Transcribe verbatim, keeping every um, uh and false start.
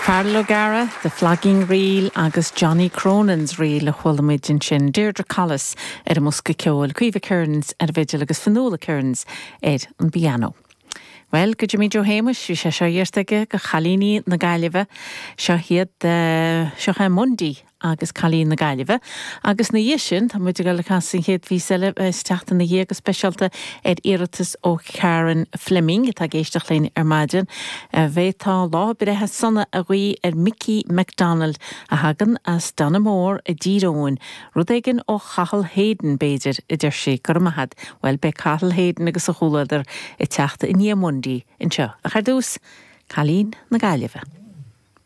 Feargal O'Gara, The Flogging Reel agus Johnny Cronin's Reel a chuala muid ansin Deirdre Collis ar an mbosca ceoil, Caoimhe Kearns ar an bhfidil agus Fionnuala Kearns ar an bpianó. Well, go Jimmy Joe Shéamuis bhí sé seo iarrtha aige do chailíní na Gaillimhe seo iad uh, seo é Mundy agus Cailíní na Gaillimhe. Agus ina dhiaidh sin tá muid ag le casadh an chéad phíosa eile isteach ina dhiaidh go speisialta ar iarratas ó Karen Fleming atá ag éisteacht linn ar maidin. B'fhéidir lá breithe sona a ghuí ar Mickey MacDonald a thagann as Donamore i dTír Eoghain, rud éigin ó Chathal Hayden b'fhéidir a deir sí gur mahad, well beidh Cathal Hayden agus a chomhluadar ag teacht i ndiaidh Mundy anseo. Ach ar dtús, Cailín na Gaillimhe.